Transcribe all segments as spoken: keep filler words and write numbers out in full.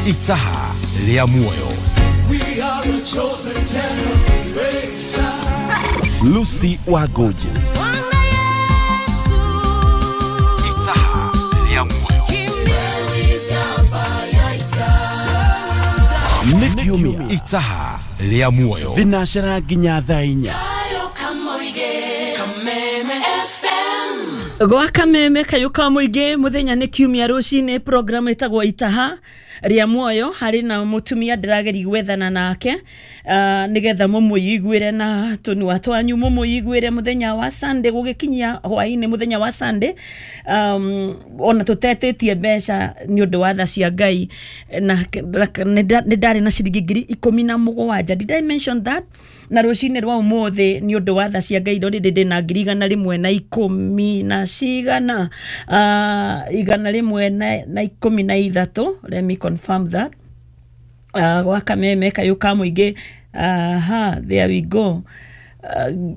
Itaha rĩa muoyo. We are a chosen generation. Lucy Wagoji. Itaha rĩa muoyo. Nĩ kiumia Itaha rĩa muoyo. Thinacera nginya thaa inya. Gwa kameme kayo ka muingi muthenya nĩ kiumia rũcinĩ program ĩtagwo Itaha rĩa muoyo harĩ na mũtumia ndĩrageria gwethana nake uh, nĩgetha mũmũiguĩre na tũnua twanyu mũmũiguĩre mũthenya wa Sunday gũgĩkinyia hwaĩ-inĩ mũthenya wa Sunday um, ona tũtetĩtie mbeca nĩ ũndũ wa tha cia Ngai na nĩ ndarĩ na ciringi ngiri ikũmi na mũgwanja. Did I mention that? Na rũcinĩ rwa ũmũthĩ nĩ ũndũ wa tha cia Ngai ndorĩ ndĩ na ngiri igana rĩmwe na ikũmi na cigana uh, igana rĩmwe na, na ikũmi na ithatũ. Let me confirm that. Uh, gwa kameme kayo ka mũingĩ. Aha, there we go. Uh,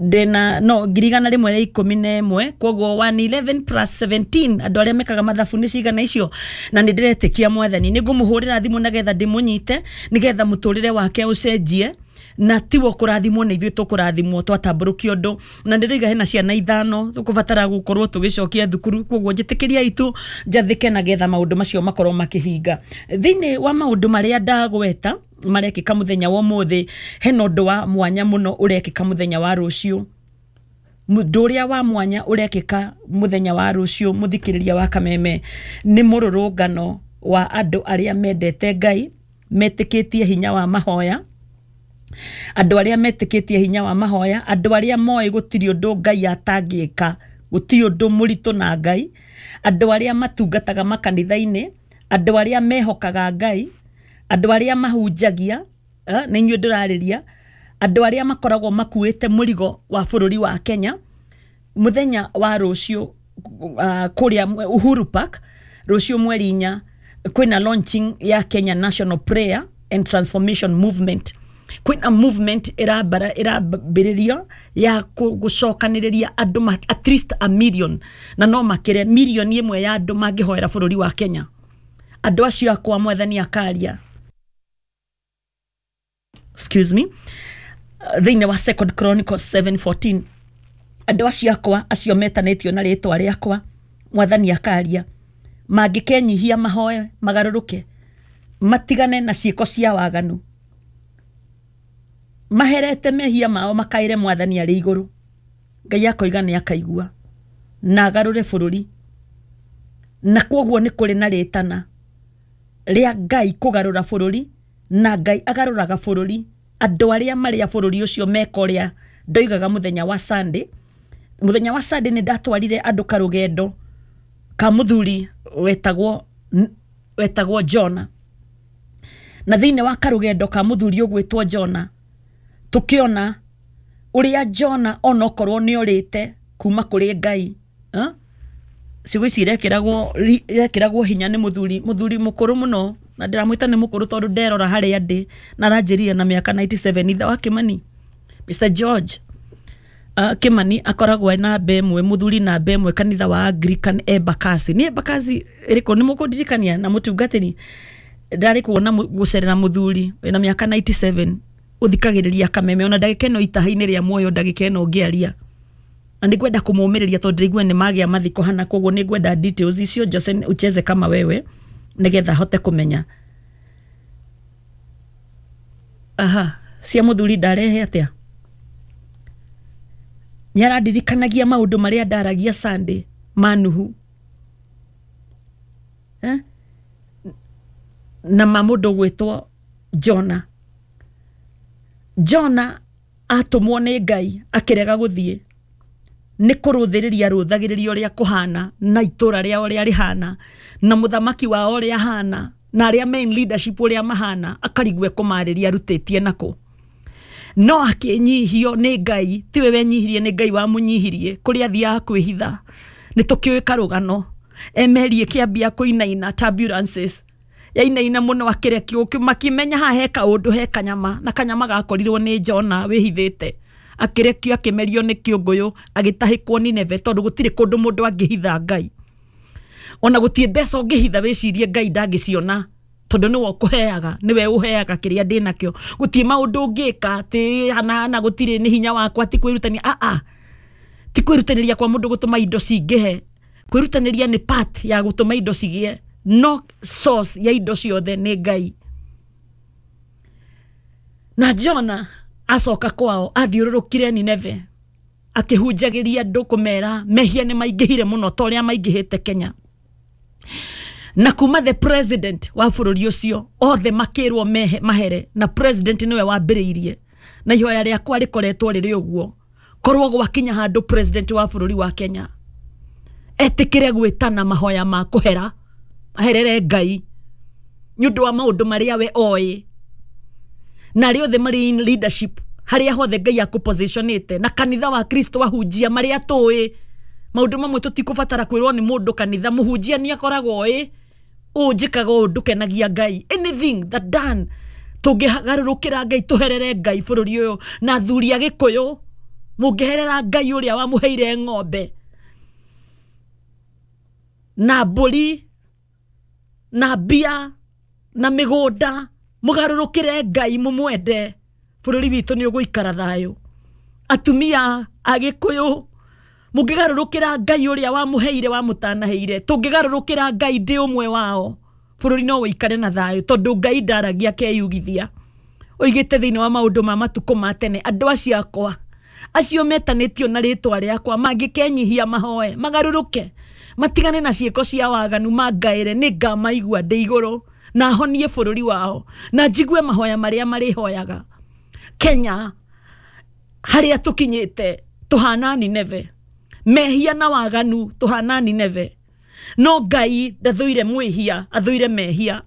ndĩna no ngiri igana rĩmwe rĩa ikũmi na ĩmwe, koguo one eleven plus seventeen andũ arĩa mekaga mathabu nĩ cigana icio, na nĩ ndĩretĩkia Mwathani nĩ ngũmũhũrĩra thimũ nagetha ndĩmũnyite nĩgetha mũtũrĩre wake ũcenjie na tiwo kũrathimwo nĩ ithuĩ tũkũrathimwo twatambũrũkia ũndũ. Na ndĩroiga hena ciana ithano tũkũbatara gũkorwo tũgĩcokia thukuru, koguo njĩtĩkĩria itu njathĩke nagetha maũndũ macio makorwo makĩhinga. Thĩinĩ wa maũndũ marĩa ndagweta marekĩka mũthenya wa ũmũthĩ, hena ũndũ wa mwanya mũno ũrekĩka mũthenya wa rũciũ. Mũndũ ũrĩa wa mwanya ũrekĩka mũthenya wa rũciũ mũthikĩrĩria wa kameme nĩ mũrũrũngano wa andũ arĩa mendete Ngai, metĩkĩtie hinya wa mahoya, andũ arĩa metĩkĩtie hinya wa mahoya, andũ arĩa moĩ gũtirĩ ũndũ Ngai atangĩka, gũtirĩ ũndũ mũritũ na Ngai, andũ arĩa matungataga makanitha-inĩ, andũ arĩa mehokaga Ngai, andũ arĩa mahunjagia, nĩ inyuĩ ndĩrarĩria, andũ arĩa makoragwo makuĩte mũrigo wa bũrũri wa Kenya. Mũthenya wa rũciũ uh, kũrĩa Uhuru Park rũciũ mweri inya kwĩna launching ya Kenya National Prayer and Transformation Movement. Kwĩna movement ĩrambara ĩrambĩrĩrio ya gũcokanĩrĩria andũ at least a million, na no makĩre milioni ĩmwe ya andũ mangĩhoera bũrũri wa Kenya. Andũ acio akwa Mwathani akaria, excuse me, thĩinĩ wa Second Chronicles seven fourteen, andũ acio akwa acio metanĩtio na rĩtwa rĩakwa Mwathani akaria mangĩkenyihia mahoe magarũrũke matigane na ciĩko cia waganu, maherete mehia mao makaire Mwathani arĩ igũrũ, Ngai akoiga nĩ akaigua na agarũre bũrũri. Na kwoguo nĩ kũrĩ na rĩtana rĩa Ngai kũgarũra bũrũri, na Ngai agarũraga bũrũri andũ arĩa marĩa bũrũri ũcio meka ũrĩa ndoigaga mũthenya wa Sunday. Mũthenya wa Sunday nĩ ndatwarire andũ karũgendo ka mũthuri wetagwo wetagwo Jona, na thĩinĩ wa karũgendo ka mũthuri ũgwĩtwo Jona tũkĩona ũrĩa Jona onokorwo nĩ orĩte kuma kũrĩ Ngai, eh? Ciugo ici irekĩragwo irekĩragwo hinya nĩ mũthuri mũthuri mũkũrũ mũno, na ndĩramwĩta nĩ mũkũrũ tondũ nderora harĩa ndĩ na aranjĩrire na mĩaka ninety-seven. Ithe wa Kimani, Mister George uh, Kimani akoragwo namba ĩmwe, mũthuri namba ĩmwe kanitha wa Anglican Embakasi. Nĩ Embakasi ĩrĩkũ? Nĩ mũkũndirikania na mũtungatĩri ndarĩ kuona gũcerera mũthuri wĩna mĩaka ninety-seven ũthikagĩrĩria kameme ona ndagĩka ĩno itaha-inĩ rĩa muoyo ndagĩka ĩno ngĩaria, na nĩngwenda kũmũmĩrĩria tondũ ndĩraigua nĩ magĩa mathiko hana, koguo nĩngwenda details icio Jose ucheze kama wewe nĩgetha hote kũmenya. Aha, cia mũthuri ndarehe atĩa? Nĩarandirikanagia maũndũ marĩa ndaragia Sunday ma Nuhu, eh? Na ma mũndũ gwĩtwo Jona. Jona atũmwo nĩ Ngai akĩrega gũthiĩ, nĩ kũrũthĩrĩria rũthagĩrĩria ũrĩa kũhana na itũra rĩao ũrĩa rĩhana na mũthamaki wao ũrĩa ahana na arĩa main leadership ũrĩa mahana, akarigwo ekũmarĩria arutĩtie nako. No akĩnyihio nĩ Ngai, tiwe wenyihirie, nĩ Ngai wamũnyihirie kũrĩa athiaga kwĩhitha. Nĩ tũkĩũĩ karũgano emeri ĩkĩambia kũinaina turbulences yainaina mũno akĩrekio, makĩmenya haha he kaũndũ he kanyama, na kanyama gakorirwo nĩ Jona wĩhithĩte, akĩrekio akĩmerio nĩ kĩũngũyũ agĩtahĩkwo Nineve tondũ gũtirĩ kũndũ mũndũ angĩhitha Ngai. Ona gũtirĩ mbeca ũngĩhitha wĩcirie Ngai ndangĩciona, tondũ nĩwe ũkũheaga, nĩwe ũheaga kĩrĩa ndĩnakĩo. Gũtirĩ maũndũ ũngĩka atĩ hana gũtirĩ nĩ hinya wakwa, ti kwĩrutania. A a ti kwĩrutanĩria kwa mũndũ gũtũma indo cingĩhe. Kwĩrutanĩria nĩ part ya gũtũma indo cigĩe, no source ya indo ciothe nĩ Ngai. Na Jona acoka kwao athiũrũrũkire Nineve akĩhunjagĩria andũ kũmera mehia nĩ maingĩhire mũno ta ũrĩa maingĩhĩte Kenya. Na kuma the president wa bũrũri ũcio othe makĩrwo mahere, na president nĩwe wambĩrĩirie. Na ihoya rĩakwa rĩkoretwo rĩrĩ ũguo, korwo gwakinya handũ president wa bũrũri wa Kenya etĩkĩre gwĩtana mahoya ma kũhera, aherere Ngai nĩ ũndũ wa maũndũ marĩa we oĩ, na arĩa othe marĩ in leadership harĩa hothe Ngai akũpositionĩte, na kanitha wa Kristo ahunjia marĩa tũĩ maũndũ mamwe tũtikũbatara kwĩrwo nĩ mũndũ kanitha. Mũhunjia nĩ akoragwo oĩ ũũ njĩkaga ũũ ndũkenagia Ngai. Anything that done tũngĩgarũrũkĩra Ngai, tũherere Ngai bũrũri ũyũ. Na athuri a Gĩkũyũ, mũngĩherera Ngai ũrĩa wamũheire ng'ombe na mbũri na mbia na mĩgũnda, mũgarũrũkĩre Ngai mũmwende, bũrũri witũ nĩ ũgũikara thayũ. Atumia a Gĩkũyũ, mũngĩgarũrũkĩra Ngai ũrĩa wamũheire wamũtanaheire, tũngĩgarũrũkĩra Ngai ndĩ ũmwe wao, bũrũri no ũikare na thayũ, tondũ Ngai ndaragia akeyugithia. Oigĩte thĩinĩ wa maũndũ ma matukũ ma tene, andũ acio akwa acio metanĩtio na rĩtwa rĩakwa mangĩkenyihia mahoe magarũrũke matigane na ciĩko cia waganu mangaĩre, nĩ ngamaigua ndĩ igũrũ na honie bũrũri wao na njigue mahoya marĩa marĩhoyaga. Kenya harĩa tũkinyĩte tũhana Nineve, mehia na waganu tũhana Nineve, no Ngai ndathũire mwĩhia, athũire mehia.